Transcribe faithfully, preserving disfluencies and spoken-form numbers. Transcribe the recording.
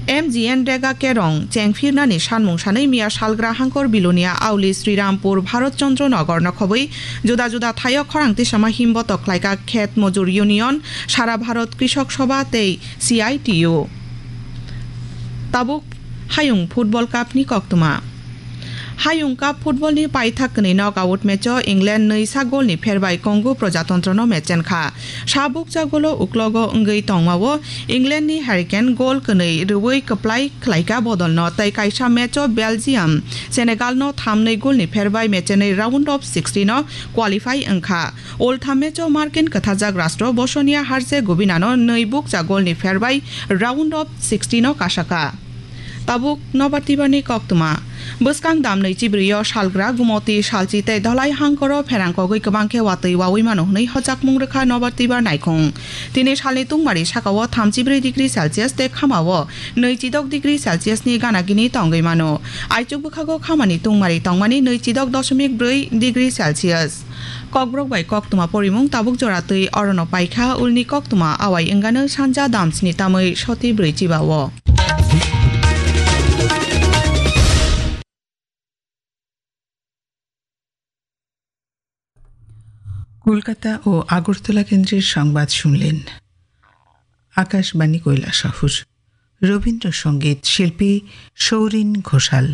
M G N Rega Kerong chengphirnani sanmung sanwi miya salgra Hangkor Bilonia Auli Srirampur Bharat Chandra Nagar no khobwi juda juda thaio khorang tisama himbotok khlaika Khet Mojur Union, Sara Bharat Krishok Sabha tei C I T U. Tabuk Hayung Football Cup ni koktwma. Hayung Cup football ni paithak kwnwi knockout match o England nwi sa goal ni pherbai Congo Projatantra no match chenkha. Sa bukcha goal o uklogo wngwi tongmao England ni Harry Kane goal kwnwi rwui kwplai khlaika bodol no tei kaisa match o Belgium Senegal no tham nwi goal ni pherbai match chenwi round of sixteen o qualify wngkha. Ultham match o markin kwthajak rastro Bosnia Herzegovina no nwi bukcha goal ni pherbai round of sixteen o kasaka. Tabuk nobar tibar ni koktwma. Bwskang dam nwi chibrwi o salgra Gumoti, Salchi tei Dhalai Hangkor o pherang kogwi kwbang khe watwi wawi mano hwnwi hojakmung rwkha nobar tibar naikhung. Tini salni tungmari saka o thamchi brwi degree Celsius tei khama o nwi chidok degree Celsius ni gana gini tongwi mano. Aichuk bwkhago khamani tungmari tongmani nwi chidok doshomik brwi degree Celsius. Kokborok bai koktwma porimung tabuk jora twi orono paikha, ulni koktwma awai wngano sanja damsni tamwi soti brwi chiba o. Kolkata ও আগরতলা কেন্দ্রের সংবাদ শুনলেন আকাশবাণী কৈলাসহর। রবীন্দ্রসঙ্গীত শিল্পী সৌরিন ঘোষাল।